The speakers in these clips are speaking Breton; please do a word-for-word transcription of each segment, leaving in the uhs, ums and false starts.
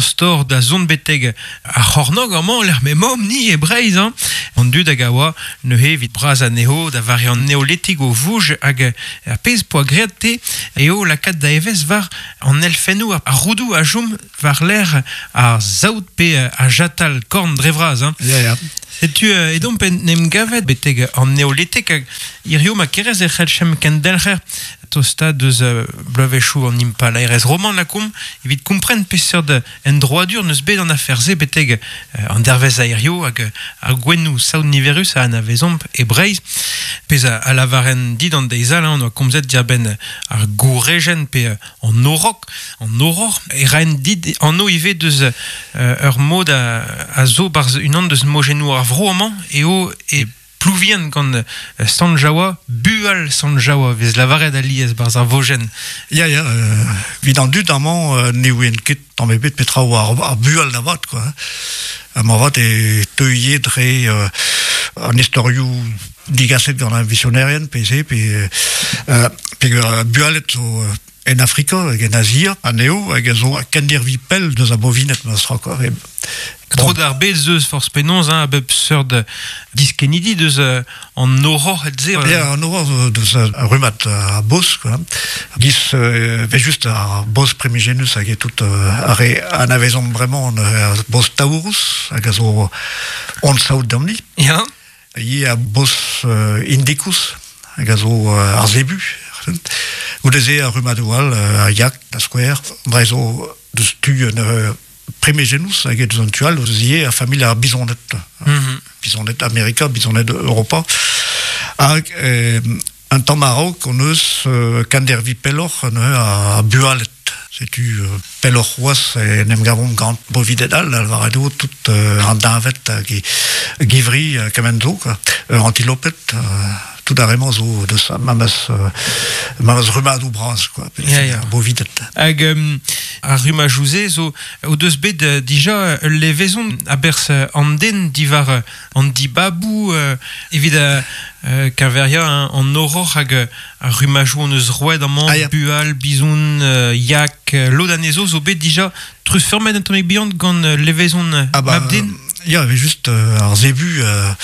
Stor da zont betek ar c'hornog amañ lec'h m'emaomp ni e Breizh hein. An dud hag a oa neuze evit bras anezho da vare an neolitik o vouj hag ar pezh poa graet te eo lakaat da evezh war an elfennoù ar roudoù a chom war lec'h ar saout pe ar jatal korn dre vras hein. Ya, ya. Setu edomp en em gavet betek an neolitek hag hirio ma kerez e c'hellchem kendelc'her tosta deus bloavezhioù an impalaerezh roman lakomp evit kompren peseurt en droadur neus bet an afer-se betek an dervezh a hirio hag ar gwennoù saout niverus a anavezomp e Breizh. Pezh a lavaren dit an deiz all, hein, on oa komzet diarbenn ar gourejenn pe an orok, an oror, e raen dit anv ivez deus ur mod a, a zo barzh unan deus mojennoù ar vro amañ eo e Plouvien gant Sant Jaoua, bual Sant Jaoua, vez lavaret alies barzh ar vojenn. Ya, ya, euh, evit an dud amañ euh, ne ouien ket tamm ebet petra oa ar, ar bual da vat, quoi. Amañ vat e teuie dre euh, an istorioù digaset gant ar visionerien, pe se, pe, euh, pe bualet zo en Afrika hag en Azia, anezho, hag a zo kendirvi pell deus a bovinet ma stra, quoi. E, Tro d'ar bed zeus forz penaos, hein, a bep seurt diskennidi deus an horror et ze. Ya, an horror deus ar rummad a bos, quoi. Giz, euh, ve just ar bos primigenus hag e tout ar re anavezomp bremañ ar bos taurus, hag a zo on saout damni. Ya. Ye a bos euh, indicus, hag a zo euh, ar zebu. Goude-se ar rummadoù all, ar yak, da skouer, dre zo deus tu un euh, primigenus hag e deus an tu all, deus ivez ar familh ar bizonet. Mm-hmm. Bizonet Amerika, bizonet Europa. Hag euh, un tamm a-raok on eus euh, kendervi pelloc'h neuze a bualet. Setu euh, pelloc'h c'hoazh en em gavomp gant bovidet all, lavaret eo tout euh, an deñved hag e givri euh, kement zo, quoi. Euh, antiloped, euh, tout ar re-mañ zo deus memes, euh, memes rummadoù bras, quoi. Ya, ya. Bovidet. Hag um, ar rummajoù-se zo o deus bet uh, dija ul levezon a-berzh an den diwar uh, an dibaboù uh, evit uh, keñveriañ hein, an horror hag uh, ar rummajoù on eus roet amañ, Ah, ya. bual, bizoun, uh, yak, uh, lod anezho zo bet dija treuzfeurmet un tammig bihan gant uh, levezon Ah bah, mab-den. Ya, avait juste euh, ar zebu euh,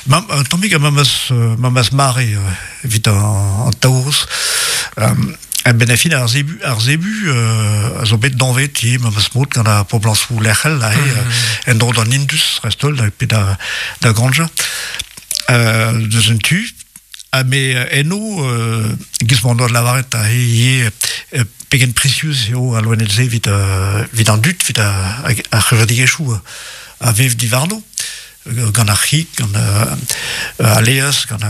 mam, un tammig a memes, euh, memes mare euh, evit an, an taurus. Euh, a-benn ar fin ar zebu, ar zebu euh, a zo bet danvet ivez memes mod gant ar poblañsoù lec'hel aze, Mm. euh, en dro d'an Indus dreist-holl, da, pe da, da Granja. Euh, deus un tu. Ha me eno, euh, giz m'on doa lavaret aze ivez, euh, pegen prisius eo al loened-se evit, euh, evit an dud, evit ar, ar c'hevredigezhioù a vev diwarno, gant ar c'hig, gant euh, al laezh, gant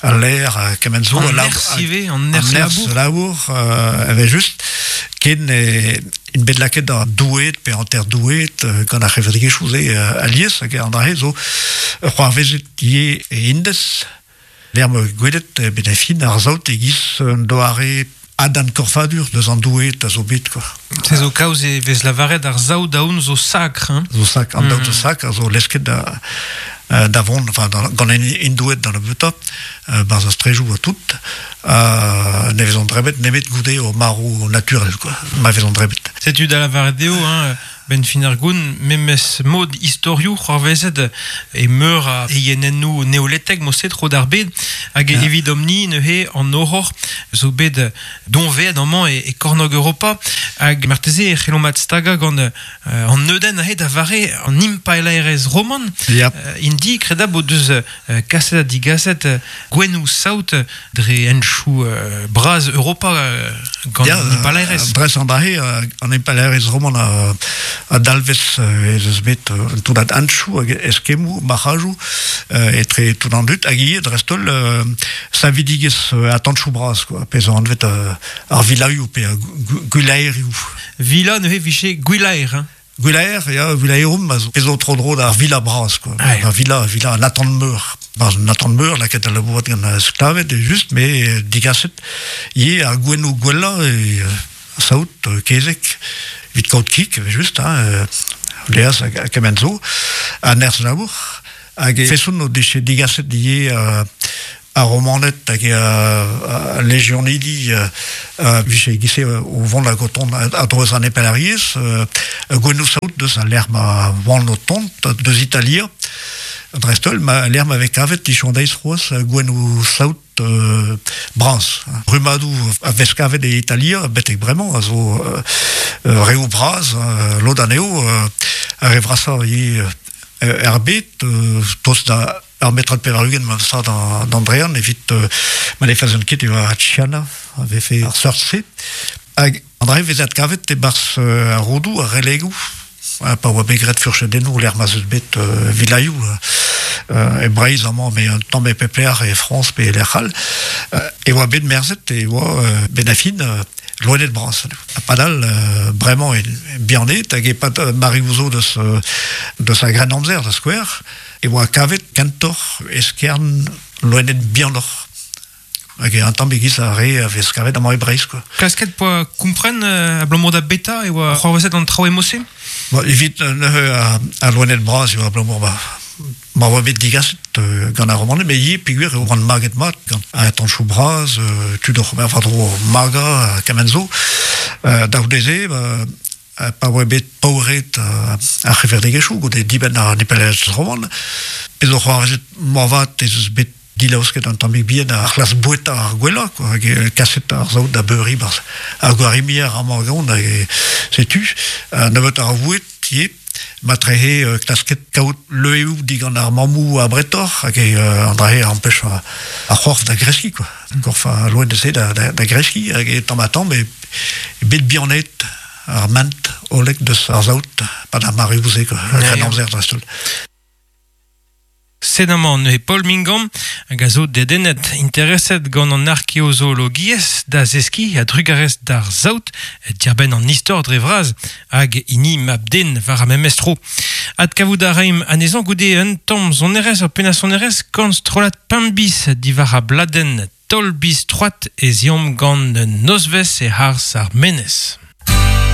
al lêr, kement zo. An a nerzh ivez, an nerzh An nerzh labour. labour, euh, evel just, ken e, int bet lakaet da doueed pe hanter doueed euh, gant ar c'hevredigezhioù-se euh, alies, hag an dra-se zo c'hoarvezet ivez e Indez. Lec'h ma gwelet e bet ar fin ar saout e-giz un doare adan korfadur deus an doueed a zo bet, quoi. Se zo kaoz e vez lavaret ar saout daoun zo sakr, hein. Zo sakr, an daoud Mm. zo sakr, a zo lesket da, euh, da vont, enfin, da, gant an hindoued da nebeutañ, euh, barzh ar strejoù ha tout, euh, ne vezont drebet nemet goude o marv naturel, quoi, ma vezont drebet. Setu da lavaret dezho, hein, ben fin ar goun, memes mod istorioù c'hoarvezet e meur a eienennoù neoletek moset tro d'ar bed, hag Ya. evidomp-ni neuze an horror zo bet doñvaet amañ e, e kornôg Europa, hag marteze e c'hellomp adstagañ gant euh, an neudenn aze da vare an impalaerezh roman. Ya. Euh, indi kredab o deus euh, kaset ha digaset euh, gwennoù saout dre henchoù euh, bras Europa euh, gant Ya, an impalaerezh. Dres an dra-se, euh, an impalaerezh roman a, a dalvez euh, ez eus bet euh, un toullad henchoù hag eskemmoù, marc'hajoù, euh, etre tout an dud, hag ivez dreist-holl euh, savidigezh euh, atanchoù bras, quoi, pe zo anvet euh, ar vilaioù pe ar gu- gwilaerioù. Vila neuze vije gwilaer, hein. Gwilaer, ya, vilaerum, a zo, pe zo tro-dro d'ar vila bras, quoi. Ah, ya. Ar vila, vila an atant meur. Barzh an atant meur, lakaet al labourat gant ar sklaved, e just, me euh, digaset, ivez ar gwennoù gwellañ, e, euh, saout, euh, kezeg, evit kaout kig, evel just, hein, euh, laezh hag, hag kement zo, ha nerzh labour. Hag e feson o deche digaset ivez euh, a romanet hag a, a legionidi a viche gise o vont la goton a droez an epelariez gwennou saout deus a l'er ma vant o tont deus Italia drestol ma l'er ma vez kavet dichondeiz c'hoaz gwennou saout euh, braz. Rumadou a vez kavet e Italia betek bremañ a zo euh, reou braz lod anezho a re vrasa e er bet tost da ar metrad pevar-ugent ma sa d'Andrean evit euh, ma ne fazen ket e oa Chiana a vefe ar seurt-se. Hag André vezet kavet e barz euh, ar rodou, ar relegou, pa oa bet graet furchedennoù l'er ma zeus bet euh, vilaioù euh, e Breizh amañ me un tamm e pepler e Frañs pe lec'h all euh, e oa bet merzet e oa euh, ben afin euh, loenet bras. A padal, euh, bremañ e bihanet hag e pat euh, Marie-Ouzo deus, deus a gren amzer da skouer, e oa kavet kentor eskern loenet bihanoc'h. Hag un tamm egiz a re a vez kavet amañ e Breizh, quoi. Klasket poa kompren euh, abalamour da beta e oa c'hoarvezet an traoù emose? Bon, evit neuze a, a loenet bras e oa abalamour ba ma oa bet digaset euh, gant ar romane, me ivez peogwir e oan maget mat gant a tanchou bras, euh, tud oc'h ober war-dro maga ha kement zo. Euh, da c'houde-se, ba, pa oa bet paouret euh, ar c'heverdegechoù goude dibenn ar nepelez roman, pezh o c'hoarvezet moarvat ez eus bet dilaosket an tammig bihan ar c'hlas boueta ar gwellañ, quoi, hag kaset ar saout da beuriñ barzh ar gwarimier amañ gant, hag setu, nebeut ar vouet ivez, ma trehe euh, klasket kaout leueoù digant ar mammoù a bretoc'h hag euh, an drahe ampech ar, ar c'horf da greskiñ, quoi. Korf a loen de da, da, da greskiñ hag e tamm ha tamm e, e bet bihanet ar ment olek deus ar saout pa da mareoù-se, quoi, ar amzer dreist-holl. Sed amañ neuze Paul Mingam hag a zo dedennet intereset gant an arkeozoologiezh da zeskiñ a drugarez d'ar saout diarbenn an istor dre vras hag hini mab-den war ar memes tro. Adkavout a raimp anezhañ goude un tamm sonerezh ur pennad sonerezh gant strollad Pemp-Bis diwar a bladenn Taol Biz Troad ez eomp gant nozvezh e-harz ar menez.